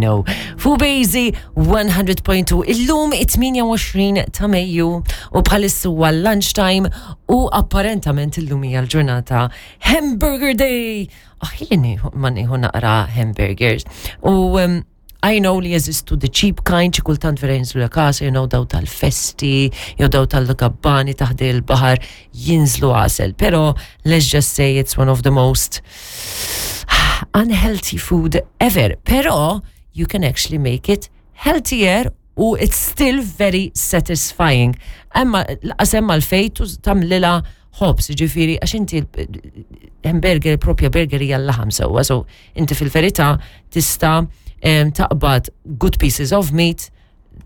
know. Fu Bejzi 100.2 illum it-28 ta' Mejju u bħalissu huwa lunchtime u apparentament illum hija l-ġurnata Hamburger Day. Aħjini ma nieħu naqra hamburgers. U um, I know li jeżistu the cheap kind, xi kultant vera jinżlu l-kas, you know, daw tal-festi, jew daw tal-gabbani taħdi l-bahar jinżlu għasel. Pero let's just say it's one of the most unhealthy food ever. Pero you can actually make it healthier u it's still very satisfying. Emma laqas hemm għalfejn tagħmlilha ħobż, ġifieri għax inti hamburger, propja burger hija l-laħam sewwa, so inti fil-verità tista' taqbad good pieces of meat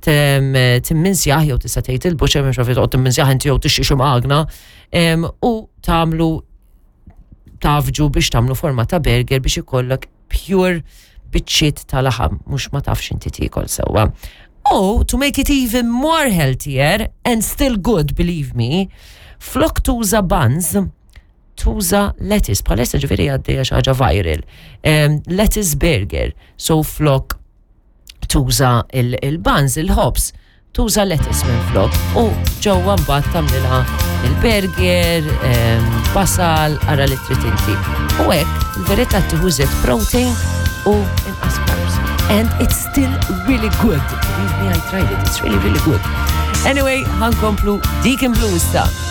timminsjah jew tista' tgħid il-butcher mhux għafi toqgħod timminsjah inti jew tixxi xi magna u tagħmlu tafġu biex tagħmlu forma ta' burger biex ikollok pure biċċiet ta' laħam mhux ma tafx inti tiekol sewwa. Oh, to make it even more healthier and still good, believe me, flok tuża buns, tuża lettuce, bħalissa ġifieri għaddejja xi ħaġa viral. Um, lettuce burger, so flok tuża il-buns, il-ħobs, tuża lettuce minn flok u ġewwa mbagħad tagħmlilha il-burger, um, basal, ara li trid inti. U hekk, il-verità tieħu żied protein u inqas carbs. And it's still really good. Believe me, I tried it. It's really, really good. Anyway, ħankomplu Deacon Blue issa.